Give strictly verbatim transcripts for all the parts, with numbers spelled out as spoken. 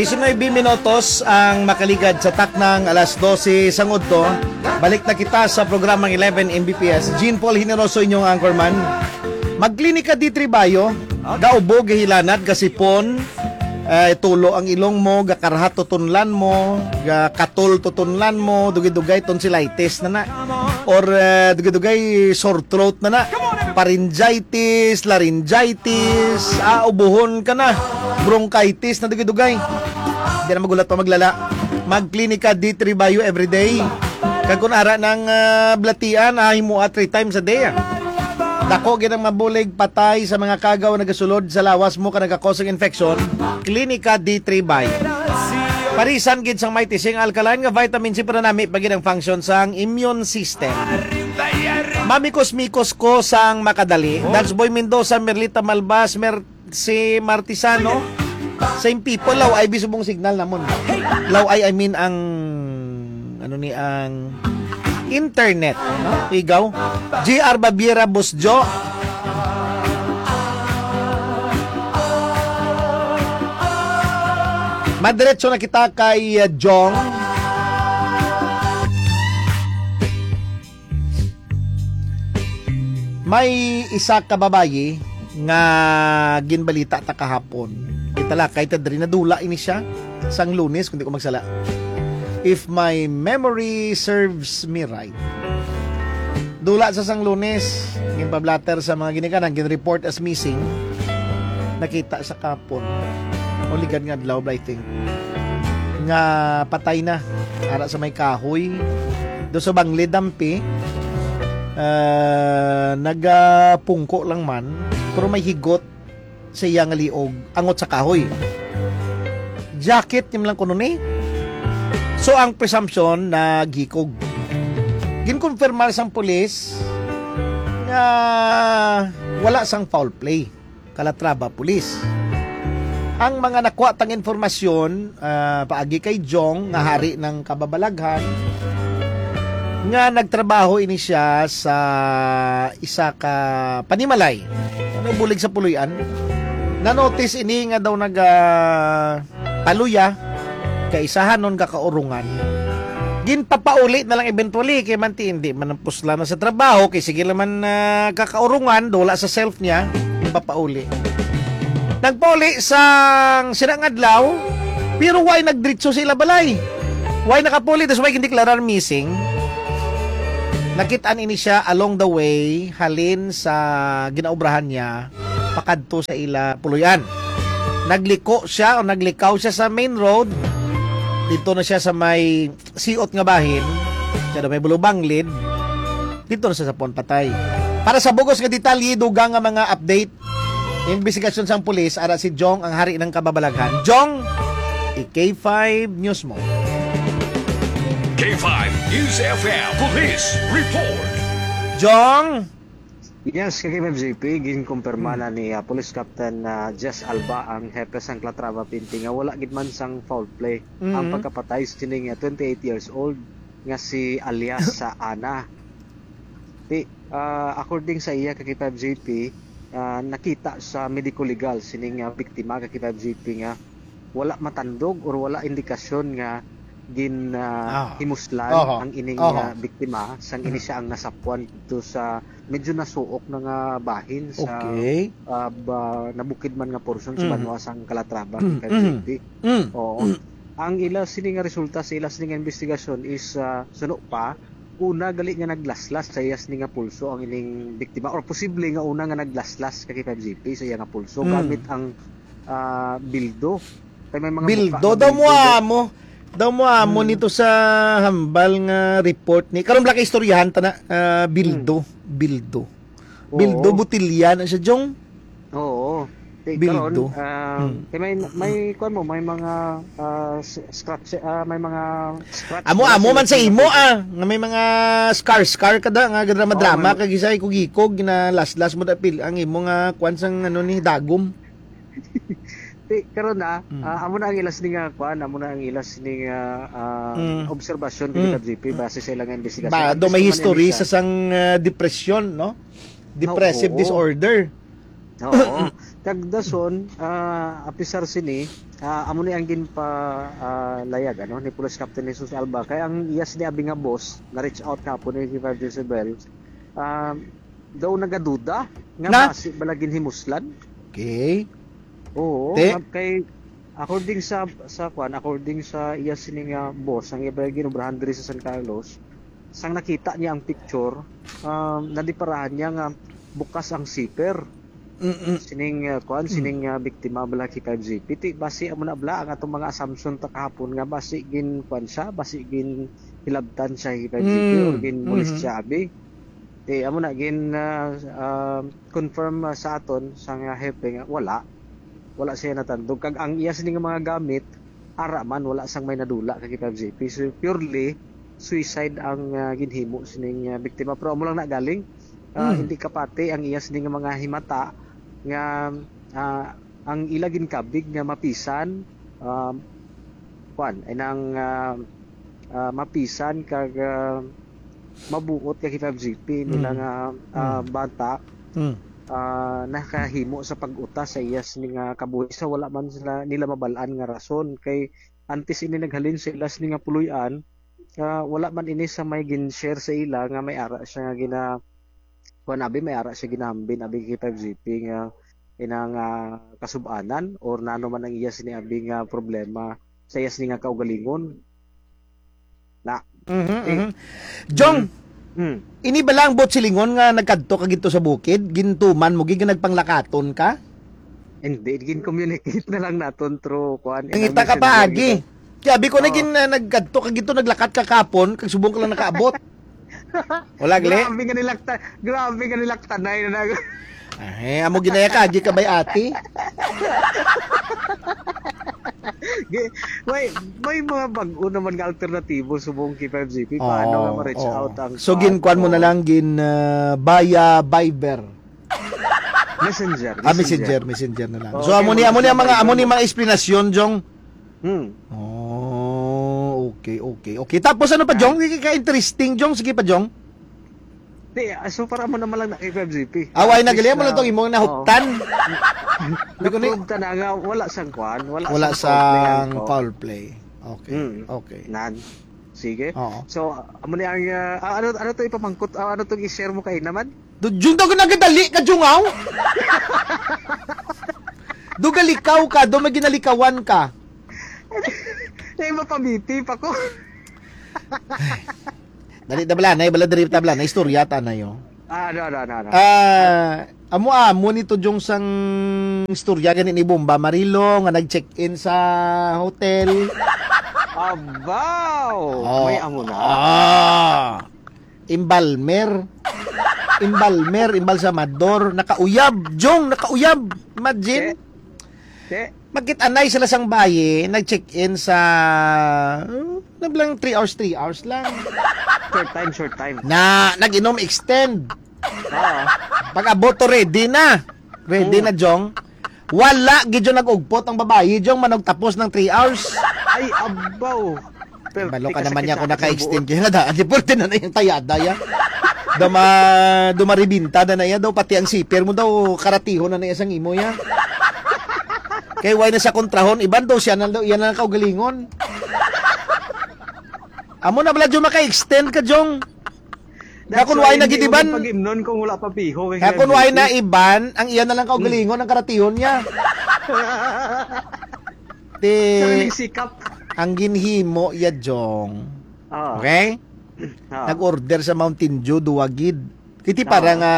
Diecinuebe minutos ang makaligad sa taknang alas dose sang udto. Balik na kita sa programang eleven M B P S. Jean Paul Generoso, inyong anchorman. Magklinika D three Bio, gaubo, gahilanat, gasipon, eh, tulo ang ilong mo, gakarhat tutunlan mo, gakatol tutunlan mo, dugay-dugay tonsillitis na na. Or, eh, dugay-dugay sore throat na na. Pharyngitis, laryngitis, ah, ubuhon ka na. Bronchitis na dugay-dugay. Di na magulat pa maglala. Magklinika D three Bio everyday. Kag kun ara nang, ah, balatian, ah, himoa three times a day, ah. Dako gid ang mabulig patay sa mga kagaw nga nagasulod sa lawas mo ka nagakos ang infection. Klinika D three Bio. Parisan gid sang may tising alkaline nga vitamin C para nami pa gid ang function sang immune system. Mamikos-mikos ko sang makadali. Dals Boy Mendoza, Merlita Malbas, Mer-, si Martisano, same people, law ay bisubong signal namon. Law ay, I mean, ang, ano ni, ang internet, no? Igaw. G R Babiera Busjo. Madiretso na kita kay, uh, Jong. May isa ka babayi nga ginbalita ta kahapon. Kita lakay ta diri, nadula ini siya sang Lunes, kung di ko magsala. If my memory serves me right. Dula sa sang Lunes, ginpablatter sa mga ginikanan, gin-report as missing. Nakita sa kapon. O ligad nga adlaw, I think. Nga patay na. Ara sa may kahoy. Do sa Bangli, dampi. Ah, nagapungko lang man. Pero may higot sa iya nga liog, angot sa kahoy. Jacket niya lang kuno ni. So, ang presumption, naghikog. Ginkonfirmar sang pulis nga wala sang foul play. Calatrava Police. Ang mga nakuha tang informasyon, ah, paagi kay Jong nga hari ng kababalaghan, nga nagtrabaho ini siya sa isa ka panimalay. Ano, bulig sa Puloy-an? Na-notice ini nga daw naga paluya, kaisahanon, kakaurungan. Ginpapauli na lang eventually, kay manti hindi man ang pusla na sa trabaho, kay sige naman, ah, kakaurungan, dula sa self niya, ginpapauli. Nagpauli sang sina nga adlaw, pero way nagdiretso sa ila balay. Way nakapuli, tas way gindeklarar missing. Nakit-an ini siya along the way, halin sa ginaobrahan niya, pakadto sa ila puloy-an. Nagliko siya o naglikaw siya sa main road. Dito na siya sa may siot nga bahin. Siya daw may bulubanglid. Dito na siya sa puon patay. Para sa bugos nga detalye, dugang nga mga update, investigasyon sang pulis, ara si Jong ang hari ng kababalaghan. Jong, i-K five News mo. K five News F M Police Report. Jong! Yes, kay K five J P, ginkumpirma Hmm. na ni, ah, Police Captain, ah, Jess Alba, ang hepe sang Calatrava P N P, nga wala gid man sang foul play ang Mhm. pagkapatay sining, ah, twenty-eight years old nga si alias sa Ana. Ti, ah, according sa iya, kay K five J P, ah, nakita sa medico legal sining, ah, biktima, kay K five J P, nga wala matandog or wala indikasyon nga gin, ah, Ah. himuslan Oho. ang ining, Oho. ah, biktima sang ini Mm. siya ang nasapwan dito sa medyo nasuok na nga bahin sa, Okay. ah, ba-, nabukid man nga porsyon sa Mm. banwa sang Calatrava, Mm. K five J P. Mm. Oo. Mm. Ang ila sini nga resulta sa ila sini nga investigasyon is, ah, suno pa, una gali nga naglaslas sa iya sini nga pulso ang ining biktima, or posible nga una nga naglaslas kay K five J P sa iya nga pulso Mm. gamit ang, ah, bildo. Kay may mga Bildo buka nga daw mo bildo. amo. Daw mo amo Hmm. nito sa hambal nga report ni. Karon, black istoryahan ta na, ah, bildo. Hmm. Bildo. Oo. Bildo, botilya na siya, Jong. Oo. Kay Bildo. karon, ah, Hmm. kay may, may, kuwan mo, may mga, ah, s-, scratch, ah, may mga scratch Amo, na amo sa man sa imo, imo, ah, nga may mga scar-scar ka da, nga drama-drama Oo, may ka, gisay kog-ikog, ginalaslas mo da, pil-, ang imo nga, kuwan sang, ano ni, dagom. Ti, karon na, Mm. ah, amo na ang ilas ni nga, kuan, amo na ang ilas ni nga, ah, Mm. obserbasyon kay Mm. K five J P base sa ilang investigasyon. Ba, At do least may man history ini siya. sa sang, ah, depresyon, no? Depressive Oo. disorder. Oo. Kag dason, ah, apisar sini, ah, amo ni ang ginpa, ah, layag, ano, ni Police Captain Jesus Alba. Kay ang iya sini abi nga boss, na-reach out kahapon ni Revival Jezebel. Ah, daw nagaduda nga Na? basi bala ginhimuslan. Okay. Oo, Te? nga kay, according sa, sa kwan, according sa iya sini nga boss, ang iya bala ginobrahan diri sa San Carlos, sang nakita niya ang picture, ah, nadiparahan niya nga bukas ang zipper. Mm-mm. Sining, ah, kuan, Mm. sining, ah, biktima bala kay five G P. Ti, basi amo na bala ang atong mga assumption ta kahapon nga basi gin, kuan siya, basi gin hilabtan siya kay five G P or Mm. gin molest Mhm. siya, abi. Ti, amo na, gin, ah, ah, confirm, ah, sa aton, sa nga hepe nga wala. Wala siya natandog. Kag ang iya sini nga mga gamit, ara man, wala sang may nadula kay five G P. So, purely suicide ang, ah, ginhimo sining, ah, biktima. Pero amo lang na galing, ah, Mm. hindi kapati ang iya sini nga mga himata nga, ah, ang ila ginkabig nga mapisan, ah, kwan, ay nang, ah, ah, mapisan kag, ah, mabuot kay five G P nila Mm. nga, ah, Mm. bata, Mm. ah, nakahimo sa pag-utas sa iya sini nga kabuhi sa wala man sila, nila mabal-an nga rason. Kay antes ini naghalin sa ila sini nga puloy-an, ah, wala man ini sa may gin-share sa ila nga may ara siya nga gina-, kuwan, abi, may ara siya ginahambin, abi, kay five G P nga inang, ah, kasub-anan or nano man ang iya sini, abi, nga problema sa iya sini nga kaugalingon. Na. Mhm, Eh, mhm. Jong, Mm. ini bala ang buot silingon nga nagkadto ka dito sa bukid? Gintuman mo gid nga nagpanglakaton ka? Hindi, gin-communicate na lang naton through, kuwan, Nangita ka messenger pa, agi. Kaya abi ko na Oo. gin-, ah, nagkadto ka dito, naglakat ka kapon, kag subong ka lang nakaabot. Wala, gali? Grabe nga nilakta-, grabe nga nilaktanay na nag- Ay, amo ginaya ka, agi ka bay ati? Gi-, may, may mga bag-o naman nga alternatibo subong kay five G P. Paano Oo, nga ma-reach oo. out ang So, kuwan? ginkuan mo na Oo. lang, gin, ah, via Viber. Messenger, Ah, messenger. messenger, messenger na lang. Oo, So, amo kaya ni, amo ni ang mga, amo ni mga eksplanasyon, Jong. Hmm. Oh, okay, okay, okay. Tapos ano pa, Ah. Jong? Ka-interesting, Jong. Sige pa, Jong. Di, ah, so para mo naman lang na kay five G P. Away na At gali least mo lang na, tong imong nahuptan. oo. Di ko ni- Na-prove ta na nga wala sang kwan, wala Wala sang foul play, sang ano. foul play. Okay, Hmm. okay. Nan. Sige. Oo. So, amo ni ang, ah, ah, ano, ano to ipamangkot? Ah, ano tong i-share mo kay naman? Do, Jung, daw nagadali ka, Jung, aw? Do galikaw ka, do may ginalikawan ka. Eh, mapamiti pa ko. Dali, da bala, na, bala, diri, ta bala, na, istorya, ta na, yo. Ah, ano, ano, ano, ano? Ah, amo, amo nito, Jung, sang istorya gani ni Bomba Marilo, nga nag-check-in sa hotel. Abaw! Oh. May amo na. Ah. Embalmer. Embalmer, embalsamador. Nakauyab. Jong, nakauyab. Imagine. Te, te. Magkit-anay sila sang bayi, nag-check-in sa, uh, na lang three hours, three hours lang. Short time, short time. Na, nag-inom extend. Oo. Pag-abot to, ready na. Ready Oo. na, Jong. Wala, gid, Jong, nag-ugpot ang babayi, Jong, manugtapos ng three hours. Ay, abaw. Pero Balo ka tika naman sakit niya sa kung akin sa naka-extend buot. Kaya nga daan, di pwede na na yung tayada, ya. Duma-, dumaribinta na na, ya. Daw pati ang siper mo daw, karatihon na na, ya, sang imo, ya. Kay why na sa kontrahon, iban daw siya na daw, iyan na lang kaugalingon. Amo na bala, Jong, maka-extend ka, Jong. Nga That's kung why why na hindi gid mo iban, pag-imnon kung wala pa piho, kay nga kung why na G P. Iban, ang iya na lang kaugalingon, Hmm. Ang karatihon niya. Ti, Sariling sikap. Ang ginhimo ya, Jong. Ah. Okay? Ah. Nag-order sa Mountain Dew, duwa gid. Kiti para Ah. nga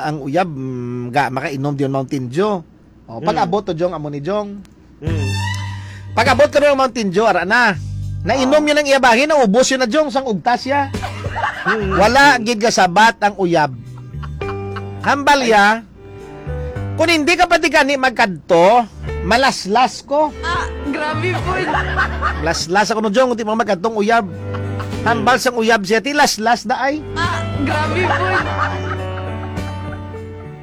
ang uyab, mm, ga, makainom diyon Mountain Dew. Oh, pag Mm. abot to, Jong, amo ni Jong. Mm. Pag abot ko ng Mountain Dew, ara na. Nainom Ah. yun ang iya bahin, naubos yun na, Jong, sang ugtas ya. Mm. Wala gid gasabat ang uyab. Hambal Ay. ya, kung hindi ka pati gani magkadto, malaslas ko. Ah, grabe po. Laslas ako no, Jong, di mo magkadtong uyab. Hambal sang uyab siya, ti laslas da ay. Ah, grabe po.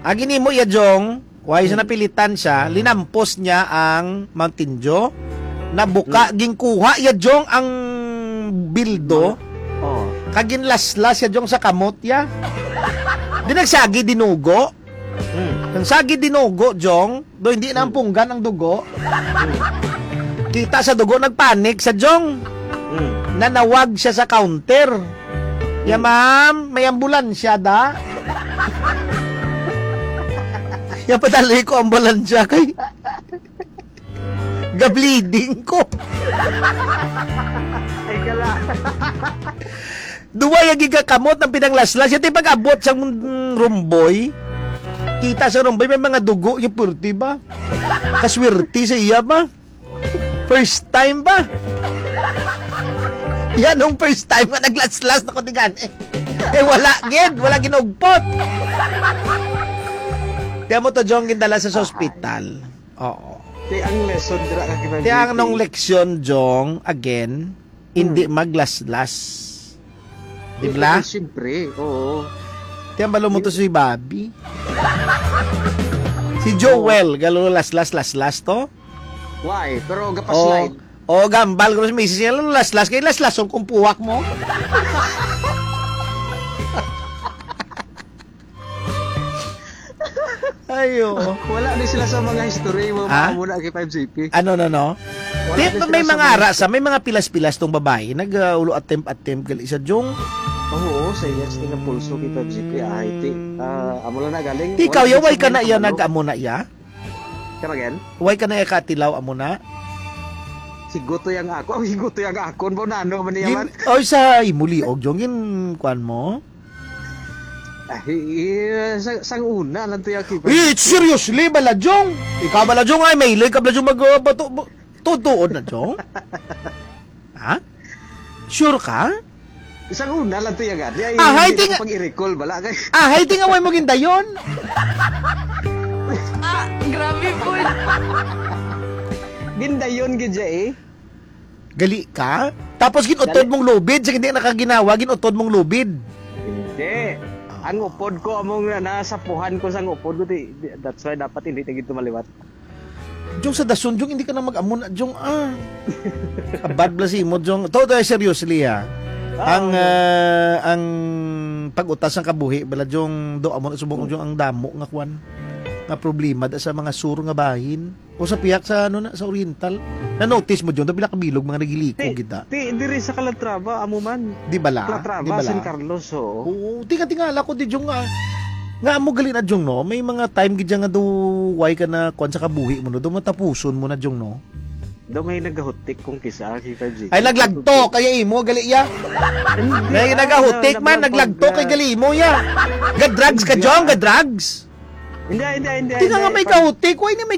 Agi nimo ya, Jong, Why sa Hmm. napilitan siya, linampos niya ang Mountain Dew. Nabuka, Hmm. ginkuha ya, Jong, ang bildo. Oh. Kag ginlaslas ya, Jong, sa kamot ya. Di nagsagi, dinugo. Hmm. Ang sagid dinugo, Jong, do hindi na ang punggan ang dugo. Kita sa dugo, nagpanik sa Jong. Mm. Nanawag siya sa counter. "Ya, ma'am, may ambulansya da?" "Ya, padali ko ambulansya kay ga-bleeding ko." Ay, kala. Duwa yung gigakamot ang pinanglaslas. Yati pag-abot sa, mm, room boy. Kita sa room boy, may mga dugo yung purti ba? Kaswerte sa iya ba? First time ba? Yan ang first time nga naglaslas na ko, tingani. Eh, wala gid, wala ginugpot. Kaya mo to, Jong, gindala sa ospital. Oo. Ti ang lesson dira ka Kevin Ti ang J P. Nung leksyon, Jong, again, hindi Hmm. maglaslas. Di ba? Eh, siyempre, oo. Ti ang balo mo to si Bobby. Si Joel, galo laslas, laslas to? Why? Pero Oh, gapaslide. Oh, gambal ko sa misis niya, "Lalo laslas kay laslason kung puwak mo." Ayo. Wala ni sila sa mga history mo Ha? Muna kay five C P. Ano, no, no? Wala Di, na may sila sa mga mga ara sa, may mga pilas-pilas tong babae. Nag, ah, ulo attempt, attempt, gali sa Jong. Oo, sa iya, sa nga pulso kay five C P, ah, Haiti. Ah, amo lang na galing. Ti Wala ikaw, ya, na way ka na sila iya, kabalo. Nag-amo na iya? Come again? Way ka na iya katilaw, amo na? Higuto yang ako. Ang higuto yang akon. Ba, nano man niya Gin, man? Oy, sa imo liog, Jong, gin, kuan mo? Ah, i-, i-, sa, sang una lang to yung kipa. Eh, seriously, bala, Jong? Ikaw, bala, Jong, ay, may ilay ka, bala, Jong, mag, uh, bato, bu-, tutuon na, Jong? Ha? Sure ka? Sang una lang to yung gani. Ay, Ah, hindi I think ko pag i-recall, bala, kay Ah, I think away mo gindayon. Ah, grabe po. Gindayon gid siya, eh. Gali ka? Tapos ginutod Gali. mong lubid, sa hindi nakaginawa, ginutod mong lubid. Hindi. Ah. Ang upod ko, among na, nasapuhan ko sang upod ko, di, di, that's why dapat hindi na gid tumaliwat. Jong, sa dason, Jong, hindi ka na mag-amo na, Jong, ah. Abad bala si imo, Jong. To, to, seriously, ha. Ah, Ang, oo. ah, ang pag-utas ng kabuhi, bala, Jong, do, amo na subong, Jong, ang damo nga kwan, nga problema da sa mga sur nga bahin. O sa pihak sa, ano na, sa Oriental. Na-notice mo, Jong, do, pila kabilog mga nagiliko Ti, kita. ti, diri sa Calatrava, amo man. Di bala? Calatrava, Di bala? San Carlos, oo. Oo, tinga-tingala ko di, Jong, ah. Nga amo gali na, Jong, no? May mga time gid nga do, why ka na, kwan sa kabuhi mo, no? Do matapuson mo na, Jong, no? Do may nagahutik kung kisa, kay five G. Ay, naglagto, kaya imo, gali, ya. Hindi, May ah, nagahutik na, man, naglagto, kay nagpag-, gali mo, ya. Ga-drugs ka, Hindi, Jong, ah. ga-drugs. Hindi, hindi, hindi, Di nga hindi. nga may Pag- kahutik, why ni may